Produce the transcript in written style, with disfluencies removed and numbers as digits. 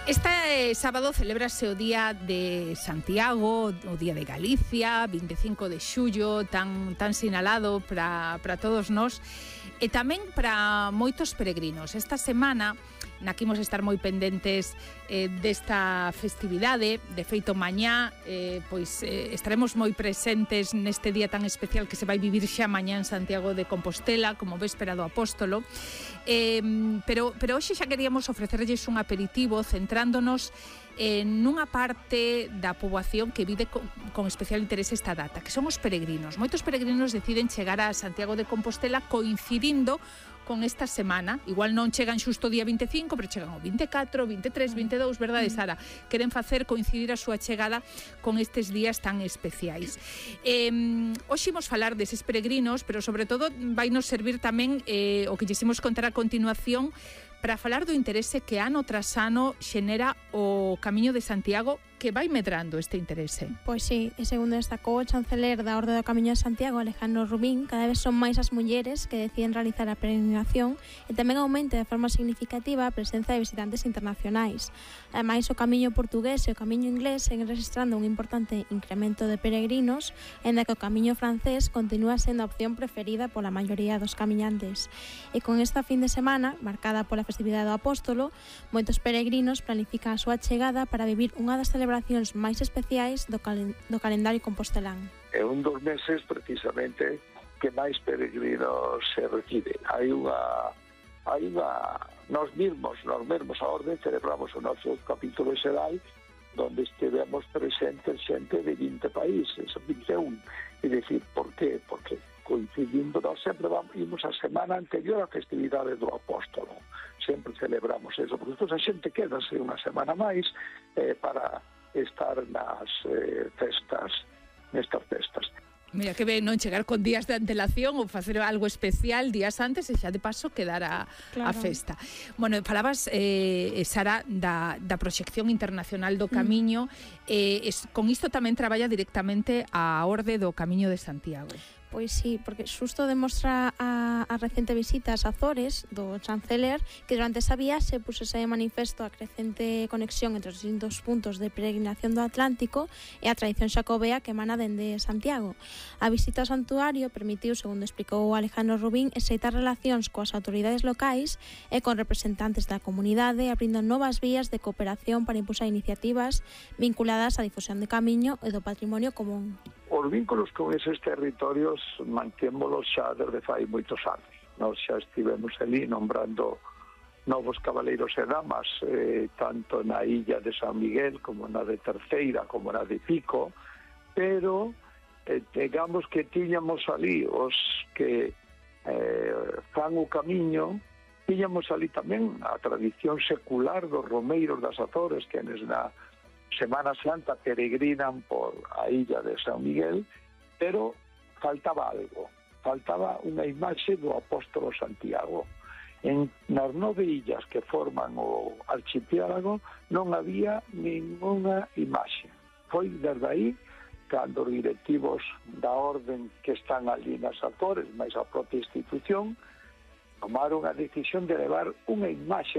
Este sábado celébrase o Día de Santiago, o Día de Galicia, 25 de xullo, tan sinalado para todos nós, e tamén para moitos peregrinos. Esta semana naquimos estar moi pendentes desta festividade. De feito, mañá estaremos moi presentes neste día tan especial que se vai vivir xa mañá en Santiago de Compostela, como véspera do Apóstolo. Pero hoxe xa queríamos ofrecerlles un aperitivo centrándonos nunha parte da poboación que vive con especial interese esta data, que son os peregrinos. Moitos peregrinos deciden chegar a Santiago de Compostela coincidindo con esta semana. Igual non chegan xusto o día 25, pero chegan o 24, 23, 22, verdade, Sara? Queren facer coincidir a súa chegada con estes días tan especiais. Hoxe imos falar deses peregrinos, pero sobre todo vai nos servir tamén o que lles imos contar a continuación para falar do interese que ano tras ano xenera o Camiño de Santiago, que vai medrando este interese. Pois sí, e segundo destacou o chanceler da Orde do Camiño de Santiago, Alejandro Rubín, cada vez son máis as mulleres que deciden realizar a peregrinación e tamén aumenta de forma significativa a presenza de visitantes internacionais. Ademais, o Camiño portugués e o Camiño inglés seguen registrando un importante incremento de peregrinos, en que o Camiño francés continúa sendo a opción preferida pola maioría dos camiñantes. E con esta fin de semana, marcada pola festividade do Apóstolo, moitos peregrinos planifican a súa chegada para vivir unha das celebracións máis especiais do calendario compostelán. É un dos meses precisamente que máis peregrinos se recibe. Hai unha nós mesmos a Orde celebramos o noso capítulo xeral donde estivemos presentes xente de 20 países, 21. É dicir, por qué? Porque coincidindo, nós sempre imos a semana anterior á festividade do Apóstolo. Sempre celebramos eso, porque a xente quedase unha semana máis para estar nas nestas festas. Mira que ben non chegar con días de antelación ou facer algo especial días antes e xa de paso quedar a festa. Bueno, falabas, Sara, da proxección internacional do Camiño. Con isto tamén traballa directamente a Orde do Camiño de Santiago. Pois sí, porque xusto demostra a recente visita ás Azores do chanceler que durante esa viaxe pusese de manifesto a crecente conexión entre os distintos puntos de peregrinación do Atlántico e a tradición xacobea que emana dende Santiago. A visita ao santuario permitiu, segundo explicou Alejandro Rubín, exeitar relacións coas autoridades locais e con representantes da comunidade, abrindo novas vías de cooperación para impulsar iniciativas vinculadas á difusión de Camiño e do patrimonio común. Os vínculos con eses territorios mantémolos xa desde fai moitos anos. Nós xa estivemos ali nombrando novos cabaleiros e damas, tanto na illa de San Miguel como na de Terceira, como na de Pico, pero digamos que tiñamos ali os que fan o camiño, tiñamos ali tamén a tradición secular dos romeiros das Azores, que na Semana Santa peregrinan por a illa de San Miguel, pero faltaba algo, faltaba unha imaxe do Apóstolo Santiago. Nas 9 illas que forman o archipiélago non había ninguna imaxe. Foi desde aí cando os directivos da orden que están ali nas Azores, máis a propia institución, tomaron a decisión de levar unha imaxe